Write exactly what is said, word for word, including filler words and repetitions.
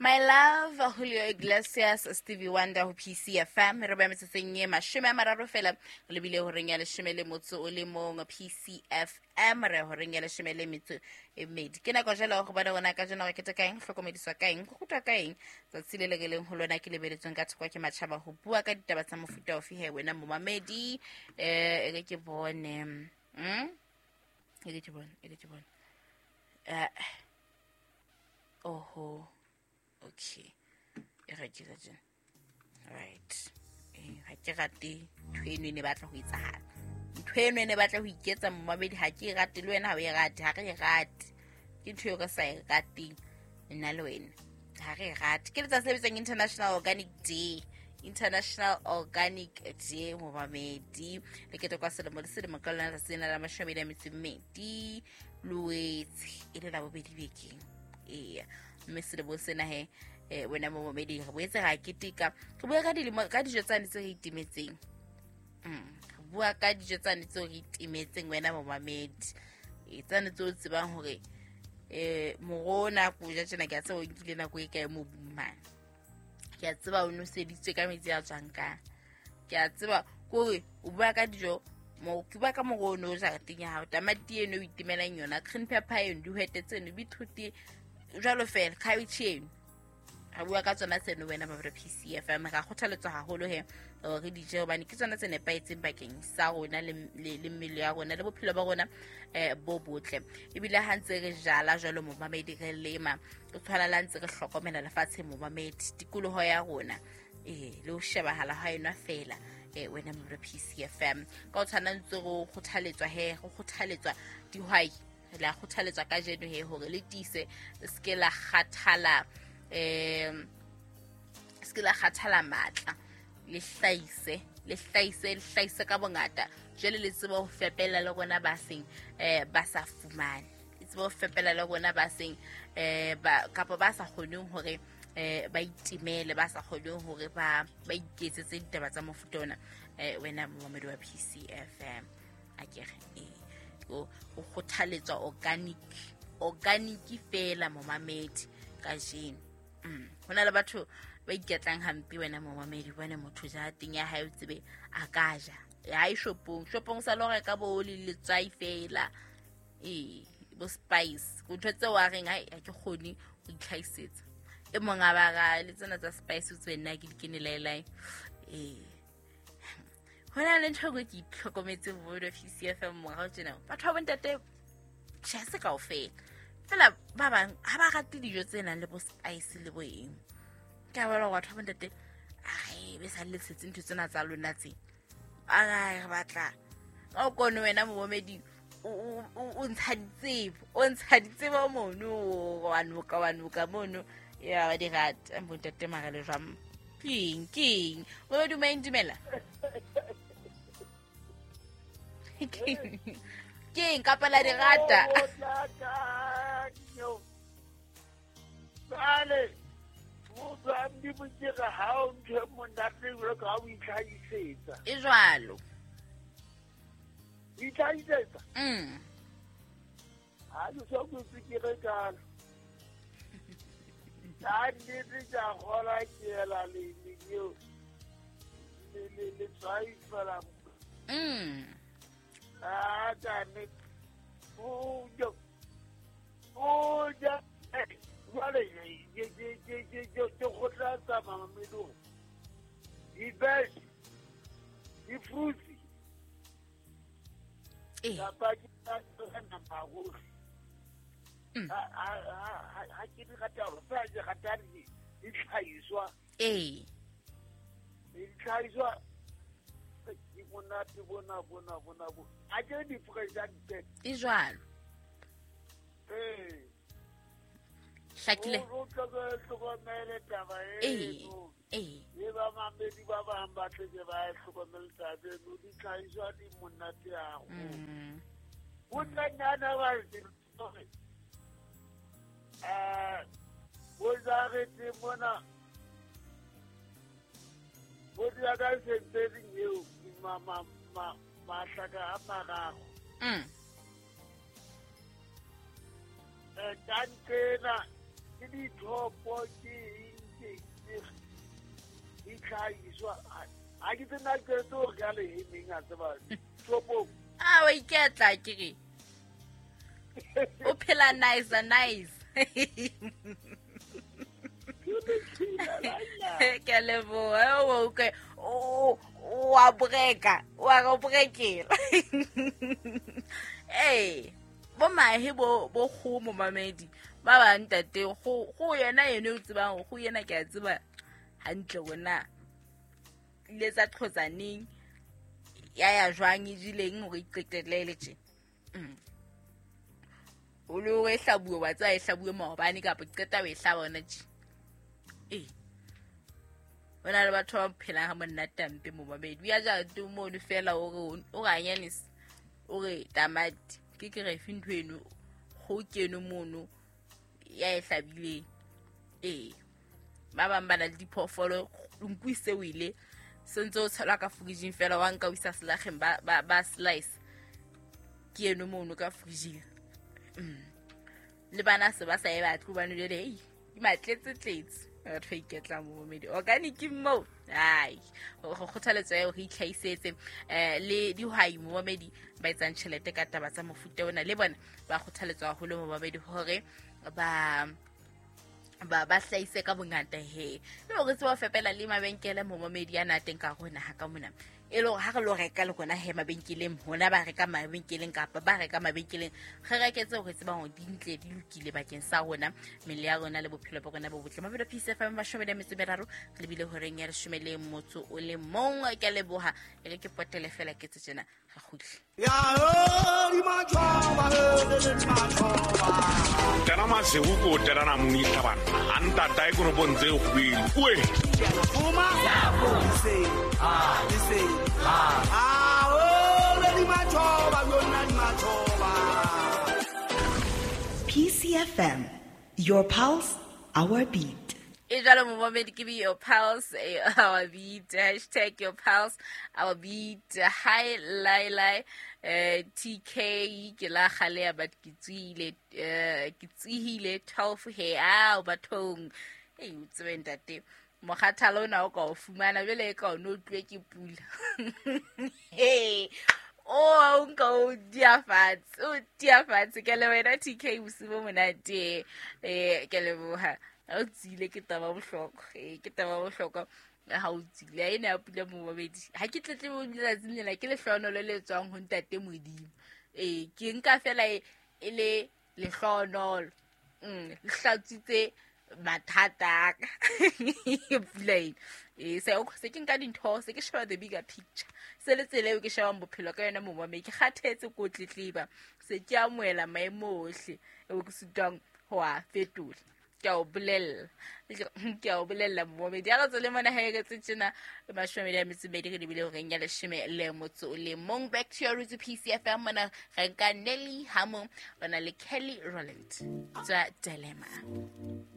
My love, Julio Iglesias, Stevie Wonder ho P C F M. Re ba metsotsong e mashome a mararo fela, re lebile horeng ya leshome le motso o le mong P C F M, re horeng ya leshome le metso e mmedi. Ke nako jwale ho bona rona kajeno re keteka eng, hlokomediswa ka eng, go rutwa ka eng tsatsi le le re leng ho lona ke lebeletsweng ka thoko ke matjhaba ho bua ka ditaba tsa mofuta ofe he wena momamedi. Eh, e re ke bone. Mm? E re ke bone, e re ke bone. Eh, oho. Okay. E re ke re. Right. Eh, ha ke rate ntho eno e ne batla ho etsahala. Ntho eno e ne batla ho iketsa momamedi, ha ke e rate le wena ha o e rate, ha re e rate. Ke ntho eo re sa e rateng nna le wena. Ha re e rate. Ke letsatsi le bitswang International Organic Day. International Organic Day momamedi. Le ketekwa selemo le selemo ka lona letsatsi lena la mashome a metso e mmedi Loetse e le la bobedi bekeng. Eya. Mme selemo sena he, eh, wena momamedi re boetse ra keteka. Re bua ka dilemo, ka dijo tsane tse re itimetseng. Mm, re bua ka dijo tsane tse re itimetseng wena momamedi. E tsane tse o tsebang hore, eh, moroho ona ko ja tjena, ke a tseba o nkile nako e kae mobung mane. Ke a tseba o noseditswe ka metsi a tswang ka. Ke a tseba kore o bua ka dijo, mo ke bua ka moroho ono o jareteng ya hao, tamati eno o itimelang yona, green pepper eno, dihwete tseno, beetroot jwalo fela, cabbage eno. Re bua ka tsona tseno wena ba P C F M. Ra kgothaletswa haholo he hore re di je hobane ke tsona tse nepahetseng bakeng sa rona le, le, le mmele ya rona le bophelo ba rona, eh, bo botle. Ebile ha ntse re jala jwalo momamedi, re lema, re tshwana le ha ntse re hlokomela lefatshe momamedi, tikoloho ya rona, eh, le ho shebahala ha yona fela, eh, wena mo P C F M. Ka ho tshwana ntse re kgothaletswa he, re kgothaletswa dihwai, re la kgothaletswa kajeno he hore le tiise, le se ke la kgathala, eh, se ke la kgathala matla, le hlahise, le hlahise, le hlahise ka bongata. Jwale le tsebe ho fepela le rona ba seng, eh, ba sa fumane. Le tsebe ho fepela le rona ba seng, eh, ba, kapa ba sa kgoneng hore, eh, ba itimele, ba sa kgoneng hore ba, ba iketsetse ditaba tsa mofuta ona, eh, wena momamedi wa P C F M. A ke re, eh, o, o kgothaletswa organic, organic fela momamedi kajeno. Mm. Ho na le batho ba iketlang hampe wena momamedi, bone motho ja teng ya hae o tsebe a ka ja. Ya e shopong, shopong sa lo reka bo le letswai fela. Eh, bo spice. Ntho tseo a reng hai ha ke kgone ho itlhahisetsa. E mong a ba ra le tsena tsa spice o tsebe nna ke di kene laelae. Eh. Ho na le ntho e ke itlhokometse bo P C F M morao tjena. Batho ba bontate tjhe se kaofela. Fela ba bang ha ba rate dijo tse nang le bo spice le bo eng. Ke a bona hore batho ba bontate, ai, be sa le tshetse ntho tsena tsa lona tse. Ai, re batla. Ka o kone wena momamedi, o, o, o, o ntsha ditsebo, o ntsha ditsebo mono, wa noka, wa noka mono. Ya, ba di rata, bontate mara le jwang. Keng, keng? Momamedi, o maeng dumela? Keng? Keng kapa la di rata? Jwale, o tswa di botse ha o ntho e monate jwalo ka ha o itlhahisetsa. E jwalo. Itlhahisetsa? Mm. Ha ke so ke ke re kalo. Ka nnete ke a kgolwa ke ela le le eo, le, le, le tswai fela. Mm. Ah, ka nnete. O ja, o ja, eh, jwale, ke, ke, ke, ke, ke, ke kgothatsa mamamedi hore di-veg, di-fruits, Eh. kapa ke tsa nama haholo. Mm. Ha, ha, ha, ha, ha ke di rate haholo, fela ke rata di, ditlhahiswa. Eh. Ditlhahiswa, ke monate bona, bona, bona, bona. Ha ke di fresh a di E jwalo. Eh. Hlakile. O, o tlo hlokomele taba Eh, eno. eh. Le ba mamedi ba bang ba tle ke ba e hlokomele taba eno, ditlhahiswa di monate haholo. Mm. Ho tla nna ba re, eh, bo jarete mona, bo dula ka sentering eo, ma, ma, ma, mahlaka a mararo. Mm. Eh, ka nqena, ke Dithopo ke eng ke ditlhagiswa a ke tsena ke tlo re ka lehemeng a tseba thopo a wa iketla ke re o phela nice nice ke leboha o okay o wa breka wa go brekela eh bo mahe bo bo kgomo mamedi ba ba ntate go go yena yene o tsebang go yena ke a tseba hantle wena ile tsa qhotsaneng ya ya jwang e jileng hore iqetelele tje o le o e hlabuwe wa tsa e hlabuwe maobane kapa qeta o e hlaba ona tje eh ona le batho ba phelang ha monate hampe mo babedi ya ja tu mo le fela o re o ga nyanisa o re tamati ke ke re fe ntho eno go keno mono ya e hlabileng eh ba bang ba na le diphoofolo nku se o ile sentse o tshelwa ka fridging fela wa nka o isa selageng ba ba ba slice ke eno mono ka fridging le bana se ba sa e batle ba nole le ei di matletse tletse batho ba iketla mo medi organic mo ai go kgothaletsa eo re itlhaisetse eh le dihwai mo medi ba etsang tjhelete ka taba tsa mofuta ona le bona ba kgothaletswa haholo mo babedi hore ba ba ba hlaise ka bongata he le hore tseba fepela le mabenkele mo mamedi a na teng ka rona ha ka mona e le hore ha re lo reka le rona he mabenkeleng hona ba reka mabenkeleng kapa ba reka mabenkeleng re reketse hore tseba hore di ntle di lokile bakeng sa rona mmele ya rona le bophelo ba rona bo botle. Mabelo P C F M mashome a metso meraro re lebile horeng ya leshome le motso o le mong. Ke a leboha e re ke potele fela ke tse tjena re kgutle. Tena masewu ko tena na munisa bana antata e kono ntse go bile oe P C F M, your pulse, our beat. E jalo momamedi ke be your pulse, our beat, hashtag your pulse, our beat. Hi Laila, eh T K ke la kgale but ke tswile eh ke tsihile twelve he a bathong e o tsebe ntate mokgathalo ona o ka o fumana jwale e ka o no tlwe ke pula hey o nka o dia fatshe o dia fatshe ke le wena T K bosibo monate eh ke leboha o tsile ke taba bohlokwa eh ke taba bohlokwa ha o tsile ene a pula mo babedi ha ke tletle mo letsatsing lena ke lehlonolo le tswang ho ntate Modimo eh ke nka fela e le lehlonolo mm le hlatsitse mathata ka pula ena eh se o se ke nka dintho se ke sheba the bigger picture se le tsela eo ke shebang bophelo ka yona momame ke kgathetse ko tletleba se ke amohela maemo ohle eo ke sitwang ho a fetola ke a o bolella ke a o bolella momamedi ya re tswele mona ha e re tjena mashome a metso medi re lebile horeng ya leshome le motso o le mong. Back to your roots P C F M mona re nka Nelly Hamo bana le Kelly Rowland tsa Dilemma.